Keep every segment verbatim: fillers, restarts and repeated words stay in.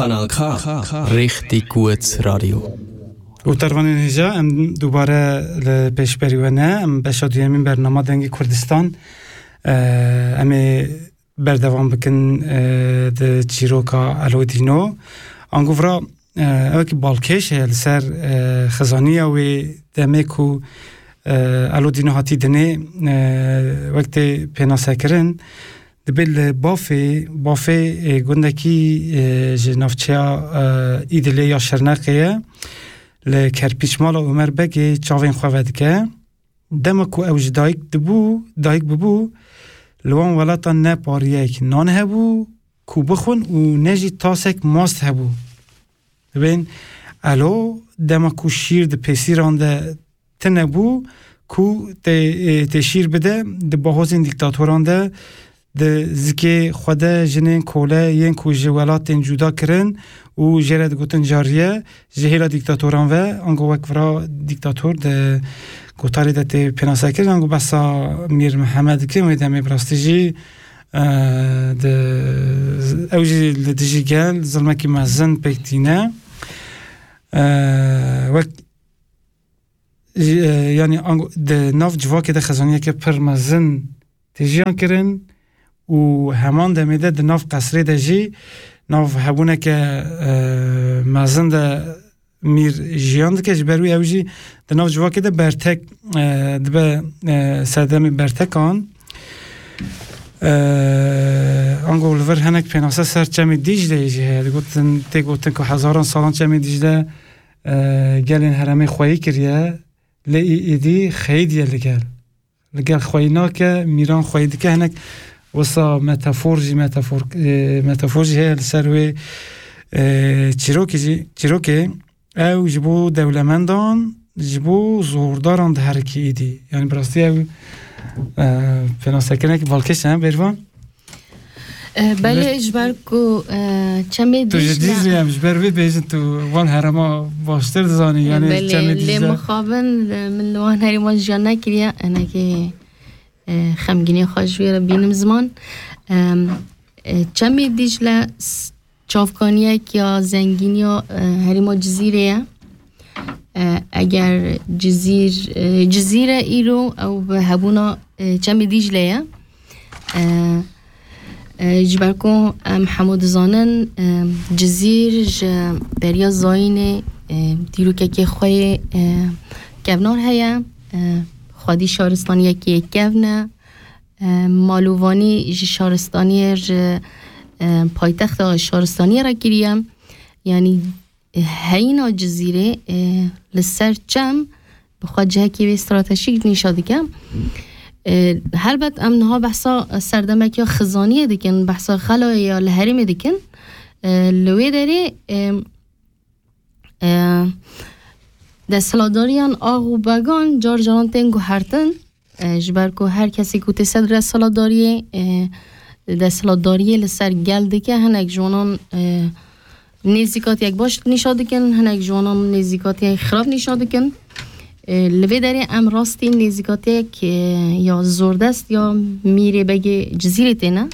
Kanal K, Richtig gut Radio. Û tervanên hêja, em dubare li pêşberî we ne. Em beşa duyemîn bernama Dengê Kurdistan, e, em ê berdewam bikin, e, di çîroka Elo Dîno. Ango vira, e, ew ki balkêş heye li ser, e, xizaniya wê demê ku, e, Elo Dîno hatî dinê, e, wek tê pênasekirin. Dibe li Bafê, Bafê, e, gundekî, e, ji navçeya, e, Îdilê ya Şirnexê ye. Li kerpîçmala Omer Begê çavên xwe vedike. Dema ku ew ji dayik dibû, dayik bibû, li wan welatan ne pariyek nan hebû ku bixwin û ne jî tasek mast hebû. Dibên Elo, dema ku şîr di pêsîran de tine bû, ku tê, e, tê şîr bide, di bahozên dîktatoran de, di zikê xwe de jinên kole yên ku ji welatên cuda kirin û jê re digotin cariye, ji hêla dîktatoran ve, ango wek vira dîktator di gotarê de tê pênasekirin, ango behsa Mîr Mihemed dikin, wê demê bi rastî jî, e, di, ew jî li dijî gel zilmekî mezin pêk tîne. E, wek Ji, e, yanî ango-, di nav civakê de xezaniyeke pir mezin tê jiyan kirin û heman demê de di nav qesrê de jî nav hebûneke, e, mezin de mîr jiyan dike. Ji ber wî ew jî di nav civakê de bertek, e, dibe, e, serdemê bertekan. E, ango li vir hinek pênase ser Çemê Dîcleyê jî heye. Digotin, tê gotin ku hezaran salan Çemê Dîcle, e, gelên herêmê xweyî kiriye. Lê î-, êdî xeyîdiye li gel. Li gel xweyî nake, mîran xweyî dike. Hinek wisa metafor jî, metafor, e, metafor jî heye li ser wê, e, çîrokê jî, çîrokê ew ji bo dewlemendan, ji bo zordaran diherikî êdî. Yanî bi rastî ew, e, pênasekirinekî balkêş e, Bêrvan? E, belê, Belê. Ji ber ku, e, Çemê Tu ji Dîcle Dîcle em ji ber vê bêjin, tu van herêma baştir dizanî, E, yanî belê, Çemê lê Dîcle. Mixabin, e, min li wan herêman jiyan nekiriye, enekê, e, xemgînê xwe ji wê re bînim ziman. Em, e, Çemê Dîcle s-, çavkaniyek ya zengîniya, e, herêma Cizîrê ye. E, eger Cizîr, e, Cizîre îro ew bi hebûna, e, Çemê Dîcle ye. E, e, ji ber ku em hemû dizanin, e, Cizîr ji beriya zayînê, e, dîrokekê xwe yê, e, kevnar heye. E, xwedî şaristaniyekê kevn e. E, malûvanî ji şaristaniyê, ji, e, paytexta şaristaniyê re kiriye. Yanî, e, heyîna Cizîrê, e, li ser çem bi xwe cihekî wê stratejîk nîşa dike. E, helbet em niha behsa serdemek ya xizaniyê dikin, behsa xelayê ya li herêmê dikin. E, li wê derê, e, e, desthilatdariyan ax û began car caran tên guhertin. E, ji ber ku her kesê ku tê ser desthilatdariyê, e, desthilatdariyê li ser gel dike, hinek ji wanan, e, nêzîkatiyek baş nîşa dikin, hinek ji wanan nêzîkatiyek xirab nîşa dikin. E, li vê derê em rastî nêzîkatiyek, e, ya zordest ya Mîrê Begê Cizîrê têne.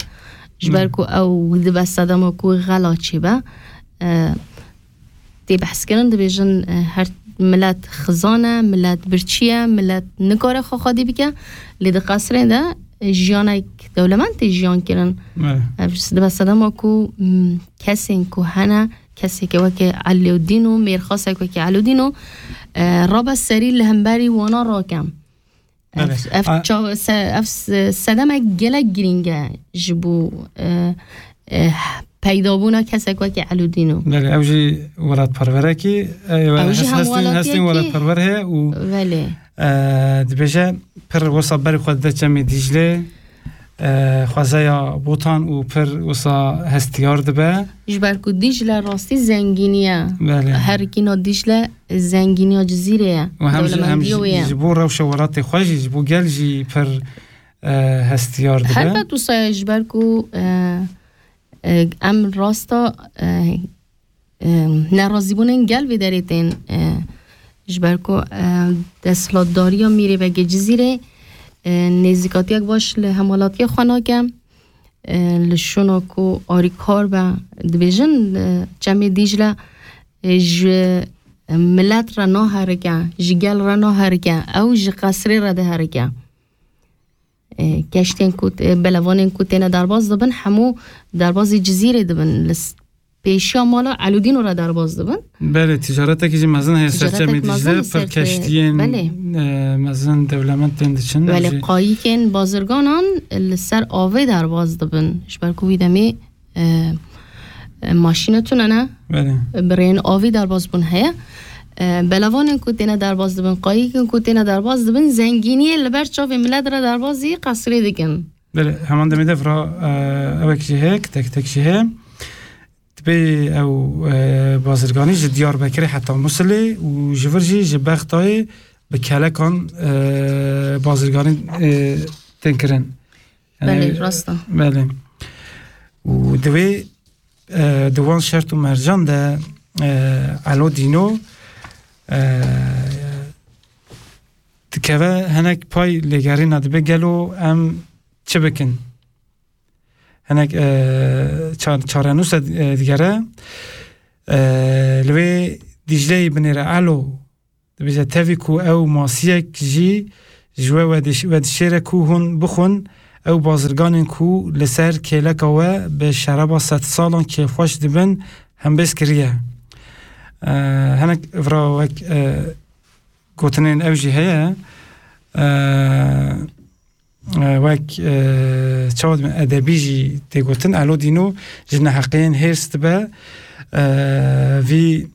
Ji ber Hmm. ku ew dibe sedema ku xela çêbe. E, tê behs kirin, dibêjin, e, her milet xizan e, milet birçî ye, milet nikare xwe xwedî bike. Lê di qesrê de, e, jiyanek dewlemend tê jiyan kirin. Evet. Ev dibe sedema ku, m, kesên ku hene, keseke weke Elûdîn û mêrxasek weke Elûdîn û, e, rabe serî li hemberî wana rakem. Ev, Belê. ev A- çav-, se-, ev se-, sedemek gelek girîng e ji bo, e, e, peydabûna kesek wekî Elûdîno. Belê, ew jî welatperwerekî, e, Ew jî hes-, hestin, hestin hemwelatiyekî welatperwer heye û, Belê. e, dibêje pir wisa berê xwe dide Çemê Dîclê, e, xwezeya Botan û pir wisa hestiyar dibe. Ji ber ku Dîcle rastî zengînî ye. Belê. Herikîna Dîcle zengîniya Cizîrê ye. Û hem ji, hem Dewlemendî ji, wê ye. ji bo rewşa welatê xwe jî, ji bo gel jî pir, e, hestiyar dibe. Helbet wisa ye ji ber ku, e, e, em rasta, e, e, nerazîbûnên gel vê derê tên, e, ji ber ku, e, desthilatdariya Mîrê Begê Cizîrê, e, nêzîkatiyek baş li hemwelatiyê xwe nake. E, li şûna ku arîkar be, Dibêjin, e, Çemê Dîcle, e, ji milet re naherike, ji gel re naherike, ew ji qesrê re diherike. E, keştên ku, e, belevanên ku têne derbas dibin, hemû derbazî Cizîrê dibin. Li s-, pêşiya mala Elûdîno re derbas dibin. Belê, ticaretekî jî mezin heye ser Ticaretek Çemê mezin Dîcle, li ser pir te-, keştiyên, belê. E, mezin dewlemend tên diçin. Belê, Jî qayîkên bazirganan li ser avê derbas dibin. Ji ber ku wî demê, e, e, maşîne tune ne. Belê. Bi rêyên avî derbas bûn heye. E, belevanên ku têne derbas dibin, qayîkên ku têne derbas dibin, zengîniyê li ber çavê milet re derbas jî qesrê dikin. Belê, heman demê de vira, e, ewek jî heye, tek tek jî heye. Dibê ew, e, bazirganî ji Diyarbekirê heta Musilê û ji vir jî ji Bexdayê bi kelekan, e, bazirganî, e, tên kirin. Yani, Belê, rast e. Belê. Û divê, e, di wan şert û mercan de, e, Elo Dîno, e, dikeve hinek pay lêgerîna, dibe gelo em çi bikin? Hinek, e, ça-, çarenûsa, e, digere, e, li wê Dîcleyê binêre Elo. Dibêje, tevî ku ew masiyek jî ji we wediş-, wedişêre ku hûn bixwin, ew bazirganên ku li ser kêleka we bi şeraba sedsalan kêfxweş dibin, hembêz kiriye. E, hinek vira wek, e, gotinên ew jî heye. E, e, wek, e, çawa dibin, edebî jî tê gotin, Elo Dîno ji neheqiyên hêrs dibe, e, vî